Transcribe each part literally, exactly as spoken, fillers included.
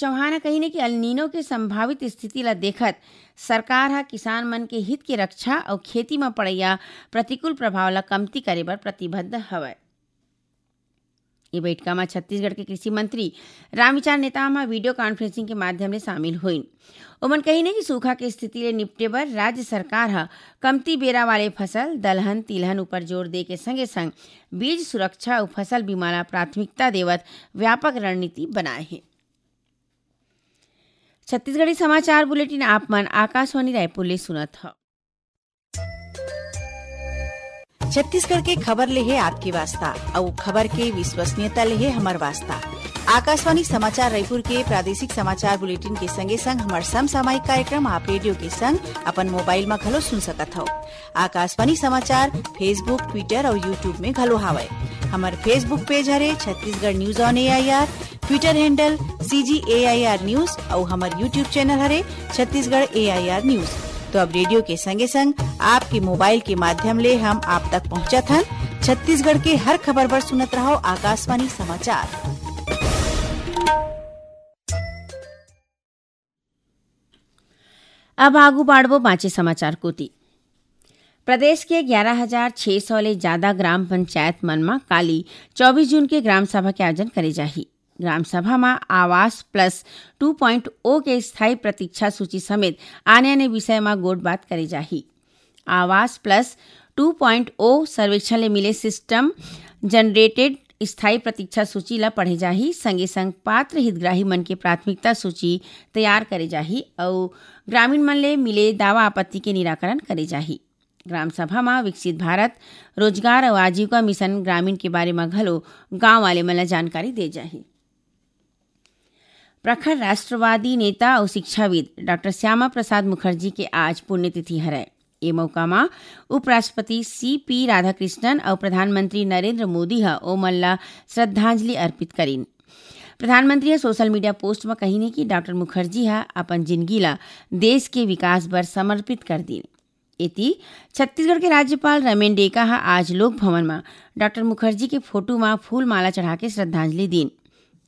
चौहान ह कहिन कि अल नीनो के संभावित स्थिति ल देखत सरकार ह किसान मन के हित के रक्षा अउ खेती म पड़इया प्रतिकूल प्रभाव ल कमती करे बर प्रतिबद्ध हवय। ये बइठका म छत्तीसगढ़ के कृषि मंत्री रामविचार नेताम ह वीडियो कॉन्फ्रेंसिंग के माध्यम ले शामिल होइन। ओमन कहिन कि सूखा के स्थिति ले निपटे बर राज्य सरकार ह कमती बेरा वाले फसल, दलहन, तिलहन ऊपर जोर दे के संगे संग बीज सुरक्षा अउ फसल बीमा ला प्राथमिकता देवत व्यापक रणनीति बनाए हे। छत्तीसगढ़ी समाचार बुलेटिन आप मन आकाशवाणी रायपुर ले सुनत हव। छत्तीसगढ़ के खबर ले हे आपके वास्ता, अउ खबर के विश्वसनीयता ले हे हमर वास्ता। आकाशवाणी समाचार रायपुर के प्रादेशिक समाचार बुलेटिन के संगे संग हमर समसामयिक कार्यक्रम आप रेडियो के संग अपन मोबाइल म घलो सुन सकत हव। आकाशवाणी समाचार Facebook, Twitter अउ YouTube में घलो हावय। हमर Facebook पेज हरे Chhattisgarh news on AIR, Twitter handle CG AIR news अउ हमर YouTube चैनल हरे छत्तीसगढ़ एआईआर न्यूज। तो अब रेडियो के संगे संग आपके मोबाइल के माध्यम ले हम आप तक पहुंचत हन। छत्तीसगढ़ के हर खबर बर सुनत रहव आकाशवाणी समाचार। अब आगू बाढ़बो बांचे समाचार कोति। प्रदेश के ग्यारह हजार छह सौ ले जादा ग्राम पंचायत मन म काली चौबीस जून के ग्राम सभा के आयोजन करे जाही। ग्राम सभा म आवास प्लस टू पॉइंट ओ के स्थायी प्रतीक्षा सूची समेत आने-आने विषय म गोठ-बात करे जाही। आवास प्लस टू पॉइंट ओ सर्वेक्षण ले मिले सिस्टम जनरेटेड स्थायी प्रतीक्षा सूची ल पढ़े जाही, संगे संग पात्र हितग्राही मन के प्राथमिकता सूची तैयार करे जाही अउ ग्रामीण मन ले मिले दावा आपत्ति के निराकरण करे जाही। ग्राम सभा म विकसित भारत, रोजगार अउ आजीविका मिशन ग्रामीण के बारे म घलो गांव वाले मन ल जानकारी दे जाही। प्रखर राष्ट्रवादी नेता अउ शिक्षाविद डॉक्टर श्यामा प्रसाद मुखर्जी के आज पुण्यतिथि हरय। ए मौका म उपराष्ट्रपति सीपी राधाकृष्णन अउ प्रधानमंत्री नरेंद्र मोदी ह ओमन ला श्रद्धांजलि अर्पित करिन। प्रधानमंत्री ह सोशल मीडिया पोस्ट म कहिन कि डॉक्टर मुखर्जी ह अपन जिनगी ला देश के विकास बर समर्पित कर दीन। एती, छत्तीसगढ़ के राज्यपाल रमेन डेका ह आज लोक भवन म डॉक्टर मुखर्जी के फोटो म फूल माला चढ़ा के श्रद्धांजलि दीन।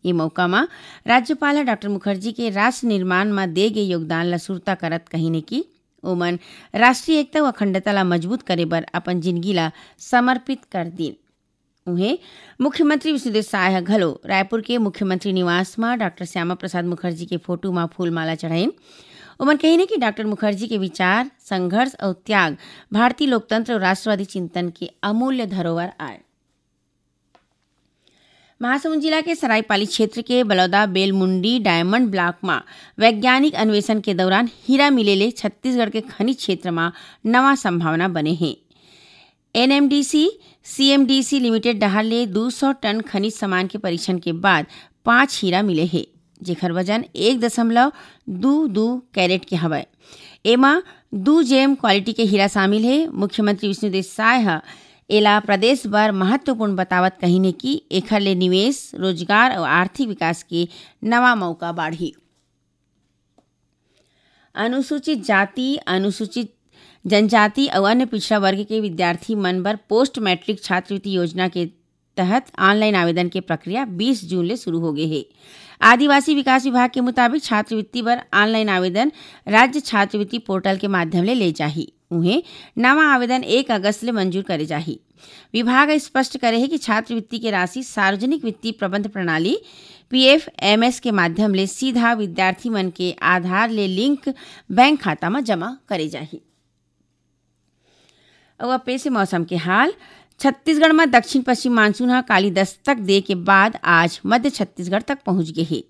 ए मौका म राज्यपाल ह डॉक्टर मुखर्जी के राष्ट्र निर्माण म दे गे योगदान ल सुरता करत कहिन कि ओमन राष्ट्रीय एकता अउ अखंडता ल मजबूत करे बर अपन जिनगी ल समर्पित कर दीन। उहें, मुख्यमंत्री विष्णुदेव साय ह घलो रायपुर के मुख्यमंत्री निवास म डॉक्टर श्यामा प्रसाद मुखर्जी के फोटो म फूल माला चढ़ाइन। ओमन कहिन कि डॉक्टर मुखर्जी के विचार, संघर्ष अउ त्याग भारतीय लोकतंत्र अउ राष्ट्रवादी चिंतन के अमूल्य धरोहर आय। महासमुंद जिला के सरायपाली क्षेत्र के बलौदा बेलमुंडी डायमंड ब्लॉक म वैज्ञानिक अन्वेषण के दौरान हीरा मिले ले छत्तीसगढ़ के खनिज क्षेत्र म नवा संभावना बने हे। एनएमडीसी सीएमडीसी लिमिटेड डहार ले दू सौ टन खनिज सामान के परीक्षण के बाद पांच हीरा मिले हे, जेखर वजन एक दशमलव दू दू कैरेट के हवय। एमा दू जेम क्वालिटी के हीरा शामिल हे। मुख्यमंत्री विष्णुदेव साय ह एला प्रदेश बर महत्वपूर्ण बतावत कहिन हे कि एखर ले निवेश, रोजगार अउ आर्थिक विकास के नवा मौका बाढ़ही। अनुसूचित जाति, अनुसूचित जनजाति अउ अन्य पिछड़ा वर्ग के विद्यार्थी मन बर पोस्ट मैट्रिक छात्रवृत्ति योजना के तहत ऑनलाइन आवेदन के प्रक्रिया बीस जून ले शुरू हो गे हे। आदिवासी विकास विभाग के मुताबिक, छात्रवृत्ति बर ऑनलाइन आवेदन राज्य छात्रवृत्ति पोर्टल के माध्यम ले ले जाही। उहें, नवा आवेदन एक अगस्त ले मंजूर करे जाही। विभाग ह स्पष्ट करे हे कि छात्रवृत्ति के राशि सार्वजनिक वित्तीय प्रबंध प्रणाली, पीएफएमएस, के माध्यम ले सीधा विद्यार्थी मन के आधार ले लिंक बैंक खाता म जमा करे जाही। अउ अब पेश हे मौसम के हाल। छत्तीसगढ़ म दक्षिण पश्चिम मानसून ह काली दस्तक दे के बाद आज मध्य छत्तीसगढ़ तक पहुंच गे हे।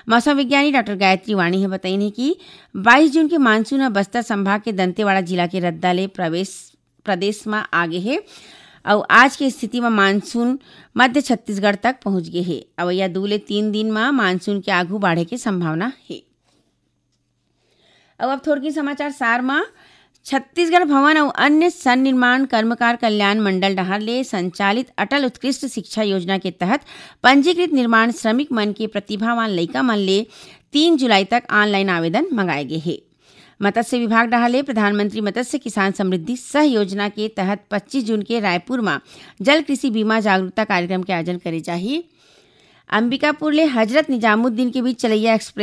मौसम विज्ञानी डॉक्टर गायत्री वाणी ह बतईन हे कि बाईस जून के मानसून ह बस्तर संभाग के दंतेवाड़ा जिला के रद्दा ले प्रवेश, प्रदेश म आ गे हे। अउ आज के स्थिति म मानसून मध्य छत्तीसगढ़ तक पहुंच गे हे। अवइया दू ले तीन दिन म मानसून के आगू बाढ़े के संभावना हे। अउ अब थोरकिन समाचार सार म, छत्तीसगढ़ भवन अउ अन्य सन्निर्माण कर्मकार कल्याण मंडल डहार ले संचालित अटल उत्कृष्ट शिक्षा योजना के तहत पंजीकृत निर्माण श्रमिक मन के प्रतिभावान लइका मन ले तीन जुलाई तक ऑनलाइन आवेदन मंगाए गे हे। मत्स्य विभाग डहार ले प्रधानमंत्री मत्स्य किसान समृद्धि सह योजना के तहत पच्चीस जून के रायपुर म जल कृषि बीमा जागरूकता कार्यक्रम के आयोजन करे जाही। अंबिकापुर ले हजरत निजामुद्दीन के बीच चलैया एक्सप्रेस